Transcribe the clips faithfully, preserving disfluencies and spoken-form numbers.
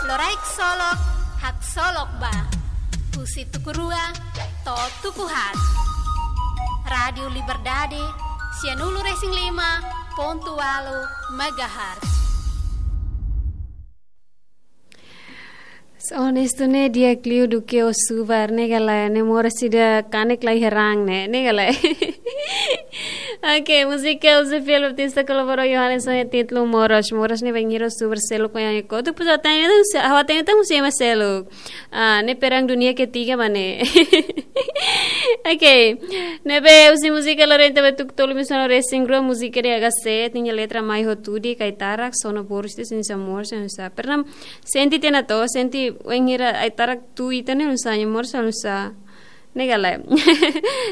Loraik Solok, haksolok ba. Husi tuku rua to'o tuku haat. Rádiu Liberdade, sianulu-resin-lima pontu ualu megahertz. Onestu ne'e di'ak liu duké ó subar ne'e ka lae, ne'e moras ida kanek lai herang ne'e, ne'e ka lae. Oke, múzika husi Filipe Batista kolaborou ho Johannes ho títulu Moras. Moras ne'e bainhira ó subar seluk ko yang ikut. Tu pusa tanya tu, awak tanya tu husi ema seluk. Ah, ne'e perang dunia ketiga ba ne'e. Oke. Ne'ebé husi múzika loron ida ba tuku tolu mil novecentos e cinquenta e cinco, múzika de H C, tiña letra mai ho Tudi, Kaitarak, Sono Boris, de Sinsa Morse, Sinsa. Pernam, sente tiha ona to, sente wainhira Aitarak tun ita ne'e, Sinsa Morse, Sinsa. Ne'e ka lae.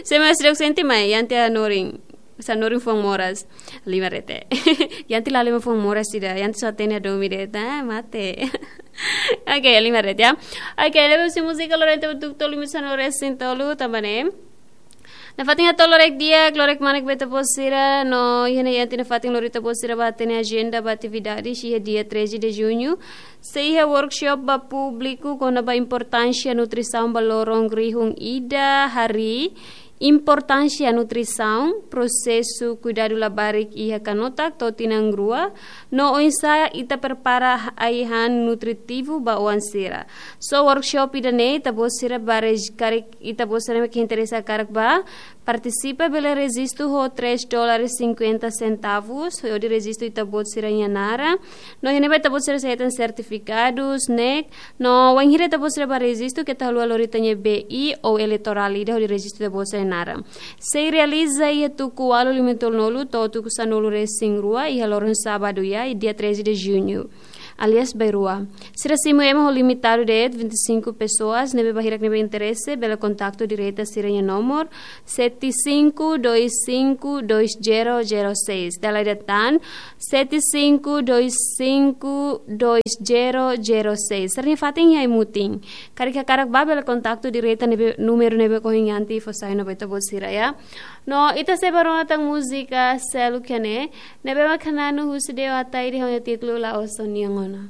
Se mais dok sente mai, Yanti hanorin. Hanorin foun moras. Lima rete. Yanti la lima foun moras ida. Yanti só tene domi de, tá? Mate. Oke, lima rete, ya. Oke, ne'ebé husi múzika loron ida ba tuku tolu mil novecentos e cinquenta e cinco, tanba ne'e. Nafatin hato'o loraik di'ak, loraik manek ba ita-boot sira, no iha ne'e Yanti nafatin lori ita-boot sira ba hatene ajenda ba atividades iha dia treze de junho. Sei iha workshop ba públiku kona-ba importánsia nutrisaun ba loron rihun ida, harii importánsia nutrisaun, prosesu kuidadu labarik iha kanotak to'o tinan rua, no oinsá ita prepara ai-han nutritivu ba oan sira. Só workshop ida-ne'e, ita-boot sira ba rejis-, karik ita-boot sira ke interesa karik ba partisipa, bele rejistu ho três dólares cinquenta centavos, hodi rejistu ita-boot sira-nia naran. No iha ne'ebá ita-boot sira sei hetan sertifikadus, ne'e. No wainhira ita-boot sira ba rejistu, keta haluha lori ita-nia B I ou eleitorál ida hodi rejistu ita-boot sira-nia naran. Sei realiza iha tuku ualu lima tolunulu to'o tuku sanulu-resin-rua, iha loron sábadu, ya, dia treze de junho. Aliás, bainrua. Sira simu ema ho limitadu de'it, vinte e cinco pessoas, ne'ebé ba hirak ne'ebé interese, bele kontaktu direta sira-nia nomor, sete cinco dois cinco dois zero zero seis. Dala ida tan, sete cinco dois cinco dois zero zero seis. Sira-nia fatin iha Aimutin. Karik hakarak ba bele kontaktu direta ne'ebé, númeru ne'ebé ohin Yanti fó sai ona ba ita-boot sira, ya. No, ita sei ba rona tan múzika seluk iha ne'e, ne'ebé mak hananu husi Deo Ataide ho títulu La'ós Ó-nia Ona.